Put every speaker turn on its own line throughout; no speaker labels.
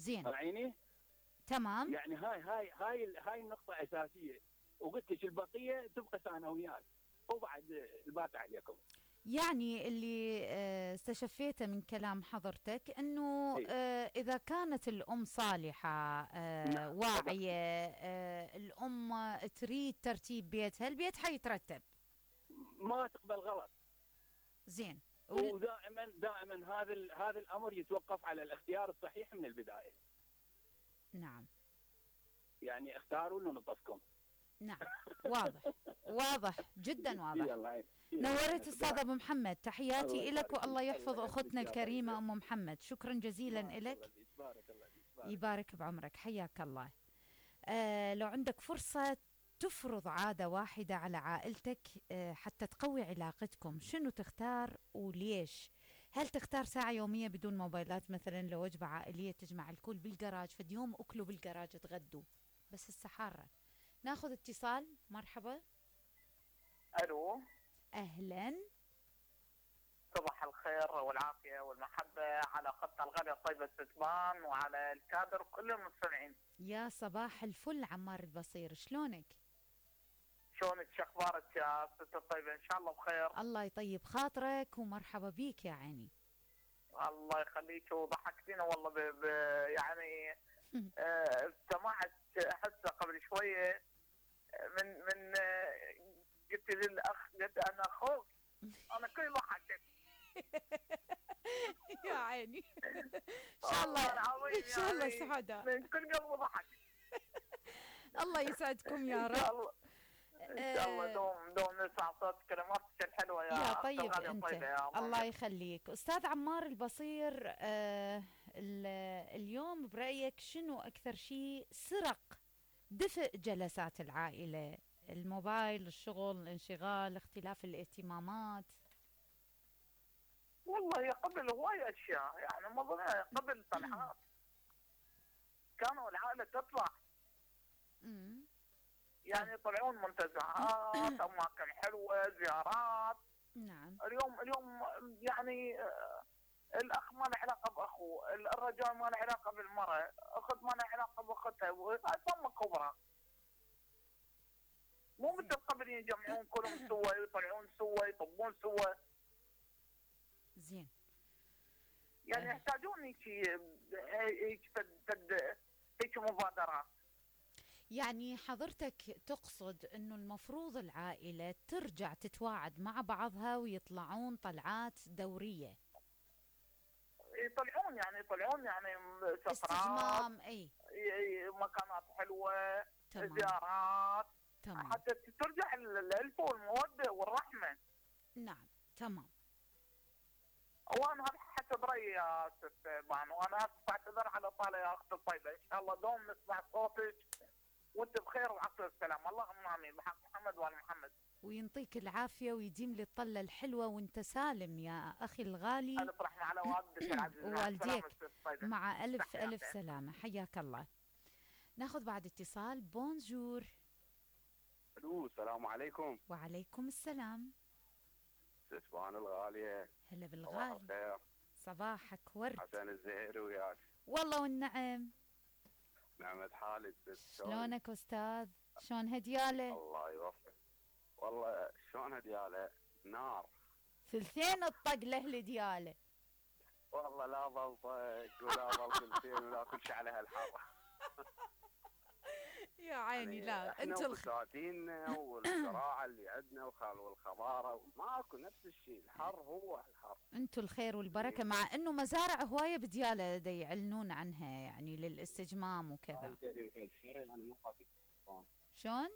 زين.
راعيني؟
تمام.
يعني هاي النقطة أساسية، وقلت لك البقية تبقى ثانويات، وبعد الباقي عليكم.
يعني اللي استشفيته من كلام حضرتك انه
إيه.
اذا كانت الام صالحة
نعم طبعا.
واعية، الام تريد ترتيب بيتها، البيت حيترتب.
ما تقبل غلط.
زين.
ودائما هذا الامر يتوقف على الاختيار الصحيح من البدايه.
نعم.
يعني اختاروا لنطفكم.
نعم. واضح. واضح جدا واضح.
يلا
نورت استاذ ابو محمد، تحياتي
الله
لك والله
يبارك
يحفظ
الله
اختنا
يحفظك.
الكريمه ام محمد. شكرا جزيلا لك.
بارك الله فيك.
يبارك بعمرك، حياك الله. لو عندك فرصه تفرض عاده واحده على عائلتك حتى تقوي علاقتكم، شنو تختار وليش؟ هل تختار ساعة يومية بدون موبايلات مثلا لوجبة عائلية تجمع الكل بالجراج، فد يوم أكلوا بالجراج تغدوا بس السحارة؟ ناخذ اتصال. مرحبا.
الو.
أهلا.
صباح الخير والعافيه والمحبه على خط الغد طيب الستبان وعلى الكادر كل المستمعين.
يا صباح الفل عمار البصير، شلونك؟
شلونك؟ شو اخبارك يا ست الطيبه؟ ان شاء الله بخير.
الله يطيب خاطرك ومرحبا بيك يا عيني.
الله يخليك وضحكتينا والله يعني سمعت هسه قبل شويه من قلت للاخ، قلت انا اخوك، انا كل ضحكت.
يا عيني. ان شاء الله ان شاء الله سعداء،
من كل قلب ضحك.
الله يسعدكم يا رب.
ان شاء الله دوم نسمع صوت كلماتك الحلوه
يا طيب
انت.
الله يخليك استاذ عمار البصير. اليوم برايك شنو اكثر شيء سرق دفء جلسات العائله؟ الموبايل، الشغل، الانشغال، اختلاف الاهتمامات؟
والله قبل هواي اشياء، يعني مثلا قبل طلعات كانوا العائله تطلع، يعني يطلعون منتزهات، اماكن حلوه، زيارات.
نعم.
اليوم يعني الاخ ما له علاقه باخوه، الرجال ما له علاقه بالمراه، اخت ما له علاقه باختها، ثم كبرى. مو مثل قبل يجمعون كلهم سوا، يطلعون سوا، يطبون سوا.
زين.
يعني يحتاجون هيك مبادرات.
يعني حضرتك تقصد انه المفروض العائلة ترجع تتواعد مع بعضها ويطلعون طلعات دورية؟
يطلعون يعني سفرات،
استجمام، اي
مكانات حلوة،
تمام.
زيارات.
تمام.
حتى ترجع الألفة والمودة والرحمة.
نعم تمام.
وانا هذا حسب رايي يا ست بانو، وانا بعتذر على طالع يا اخت الطيبه، ان شاء الله دوم نسمع صوتك وانت بخير وعسى السلام، اللهم امين بحق محمد وال محمد.
وينطيك العافيه ويديم لي الطله الحلوه وانت سالم يا اخي الغالي.
الف رحمه على والدك العزيز
ووالديك مع الف الف سلامه، حياك الله. ناخذ بعد اتصال. بونجور.
الو السلام عليكم.
وعليكم السلام.
ستبان الغاليه.
هلا بالغالي. صباحك ورد.
حسن الزهير وياك.
والله والنعم.
نعمة حالك.
شلونك استاذ؟ شلون هدياله؟
الله يوفقك. والله شلون هدياله؟ نار.
ثلثين الطق له هدياله.
والله لا ظل طق ولا ظل ثلثين ولا كل شيء على هالحاره.
يا عيني.
يعني
لا انتم
البساتيننا والزراعه اللي عندنا والخضاره ماكو نفس الشيء، الحر هو الحر.
انتم الخير والبركه، مع انه مزارع هوايه بدياله دا يعلنون عنها يعني للاستجمام وكذا. شلون؟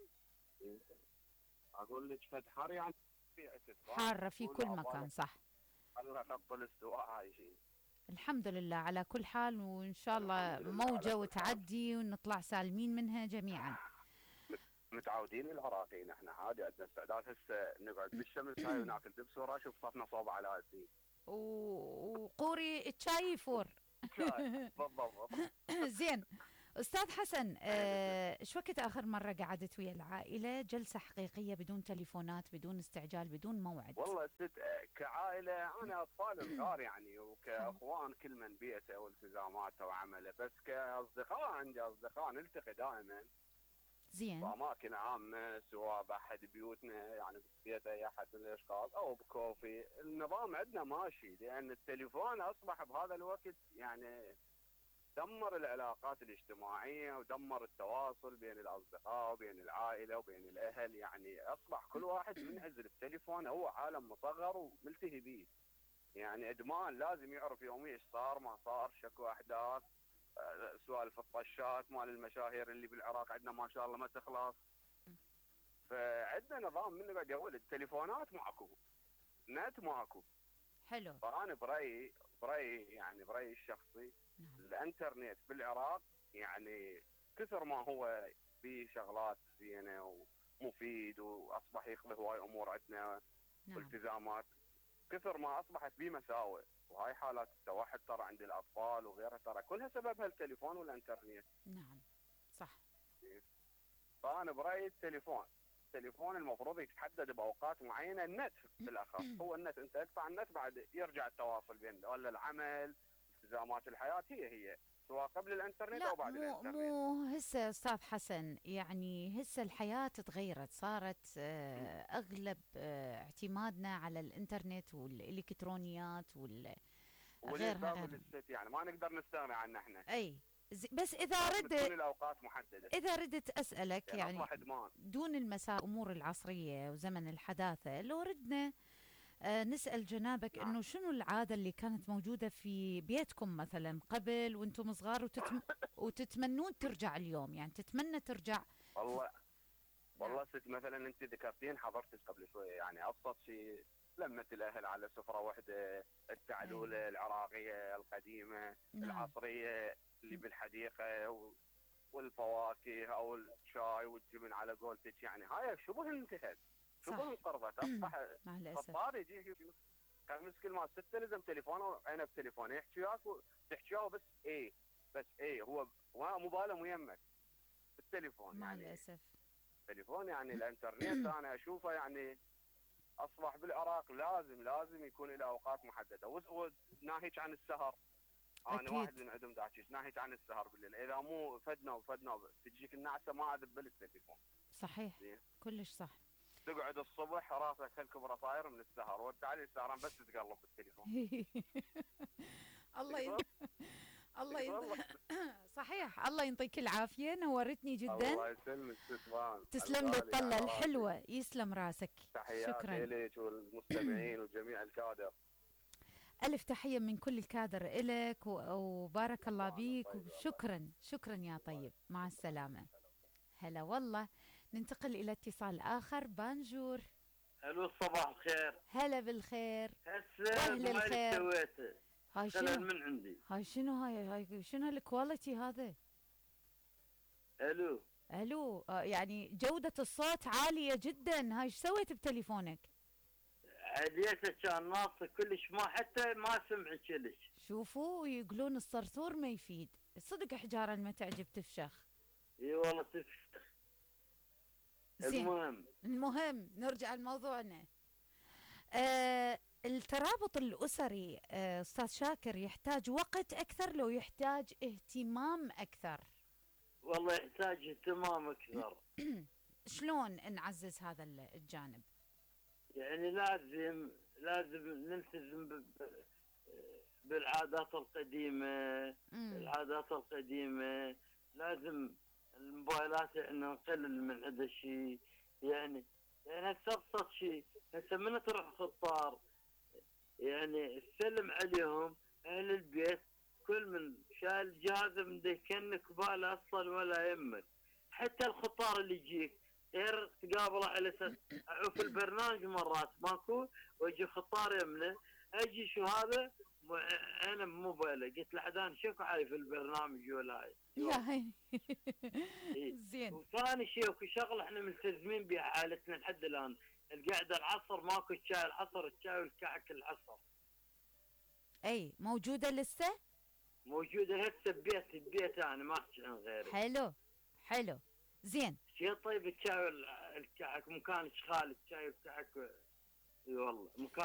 اقول لك فد حر يعني
حاره في كل مكان. صح.
الله خط الاستواء هاي شيء.
الحمد لله على كل حال، وإن شاء الله موجة وتعدي ونطلع سالمين منها جميعا.
متعودين العراقيين احنا عادي، عندنا استعداد هسه نقعد بالشمس هاي وناكل دبس ورا وصفنا صوب على الدين.
وقوري الشاي يفور.
بالضبط.
زين أستاذ حسن،
أهلا
إيش وقت آخر مرة قعدت ويا العائلة جلسة حقيقية بدون تليفونات بدون استعجال بدون موعد؟
والله كعائله انا اطفال صغار يعني،
حلو.
وكاخوان كل من بيئته والتزاماته وعمله، بس كاصدقاء عندي اصدقاء نلتقي دائما
زين.
باماكن عامه، سواء باحد بيوتنا يعني بيت اي احد من الاشخاص او بكوفي. النظام عندنا ماشي، لان التليفون اصبح بهذا الوقت يعني دمر العلاقات الاجتماعيه ودمر التواصل بين الاصدقاء وبين العائله وبين الاهل. يعني اصبح كل واحد منعزل بتليفونه، هو عالم مصغر وملتهي به. يعني ادمان، لازم يعرف يوميا ايش صار ما صار، شكو احداث، سوالف الطشات مال المشاهير اللي بالعراق عندنا ما شاء الله ما تخلص. فعندنا نظام من بعد يا ولد، التليفونات ماكو، نت ماكو.
حلو.
فانا برايي الشخصي،
نعم.
الانترنت بالعراق يعني كثر ما هو في شغلات زينه ومفيد، واصبح يخلق هواي امور عندنا
نعم.
والتزامات، كثر ما اصبحت به مساوئ. وهاي حالات التوحد ترى عند الاطفال وغيرها ترى كلها سببها التليفون والانترنت.
نعم صح.
فانا برايي التليفون المفروض يتحدد باوقات معينه. النت بالاخص، هو النت، انت ادفع النت بعد يرجع التواصل بين ولا العمل، التزامات الحياه هي سواء قبل الانترنت
لا،
او بعد
مو
الانترنت.
هسه استاذ حسن، يعني هسه الحياة تغيرت، صارت اغلب اعتمادنا على الانترنت والالكترونيات وغيرها
والانسان
غيرها.
والست يعني ما نقدر نستغني عنه احنا.
اي بس اذا
لازم تكون
ردت
الاوقات محدده،
اذا ردت اسالك
يعني
يعني
اصبح ادمان.
دون المسار امور العصرية وزمن الحداثة، لو ردنا نسأل جنابك
نعم.
انه شنو العادة اللي كانت موجودة في بيتكم مثلا قبل وانتم صغار وتتمنون ترجع اليوم، يعني تتمنى ترجع.
والله
نعم.
ست مثلا انت ذكرتين حضرتك قبل شويه، يعني ابسط شيء لمه الاهل على سفره واحده، التعلوله العراقيه القديمه،
نعم.
العصريه اللي بالحديقه والفواكه او الشاي والجبن على قولتك، يعني هاي شبه انتهت،
صح.
شبه انقرضت. اصبح
مع الأسف.
خطار يجي كان مسكين مال سته لازم تليفونه وعينه بتليفونه، يحكي وياك تحكي وياه بس ايه هو مو باله ميمك بالتليفون.
مع
يعني
الأسف.
التليفون يعني الانترنت انا اشوفه يعني اصبح بالعراق لازم يكون له اوقات محدده. وناهيك عن السهر، انا
أكيد.
واحد من عندهم داعش ناهيك عن السهر بالليل، اذا مو فدنا تجيك النعسه ما اذبل التليفون.
صحيح.
زين،
كلش صح.
تقعد الصبح راسك هالكبره طاير من السهر، وتعالي السهران بس تقلب بالتليفون.
الله
تقدر؟
الله
والله.
صحيح. الله يعطيك العافية، نورتني جدا.
الله يسلمك تسلم.
تسلم لي الطلة الحلوة، يسلم راسك.
تحياتي لك والمستمعين وجميع الكادر.
ألف تحية من كل الكادر إلك وبارك الله بيك، وشكرا يا طيب، مع السلامة. هلا والله. ننتقل إلى اتصال آخر. بانجور.
الو صباح الخير.
هلا بالخير.
هسه
أهل
ما
الخير.
سويته
هاي
خلل
شنو؟
من عندي.
هاي شنو هالكواليتي هذا؟
الو
الو. يعني جودة الصوت عالية جدا. هاي ايش سويت بتليفونك؟
عليته كان ناصر كلش، ما حتى ما سمع كلش.
شوفوا يقولون الصرصور ما يفيد، صدق حجارة ما تعجب تفشخ.
اي والله تفشخ.
المهم نرجع لموضوعنا. الترابط الأسري أستاذ شاكر يحتاج وقت أكثر لو يحتاج اهتمام أكثر؟
والله يحتاج اهتمام اكثر.
شلون نعزز هذا الجانب؟
يعني لازم نلتزم بالعادات القديمة. العادات القديمة لازم الموبايلات احنا نقلل من هذا الشيء. يعني هسه ابسط شيء، هسه من تروح خطار يعني تسلم عليهم اهل البيت، كل من شايل جهازه من كأنك باله اصلا ولا يمك. حتى الخطار اللي يجيك غير تقابله على اساس اعوف البرنامج مرات ماكو، واجي خطار يمنه اجي شو هذا انا بموبايله، قلت له حدان شوف عارف البرنامج ولا هاي
يا هي.
زين. وثاني شيء اكو شغله احنا ملتزمين بها حالتنا لحد الان، القعده العصر ماكو الشاي العصر، الشاي والكعك العصر.
اي موجوده لسه؟
موجوده هسه ببيت انا ما احكي عن غيري.
حلو حلو زين.
شي طيب الشاي الكعك مكان اشغال الشاي والكعك. اي والله مكان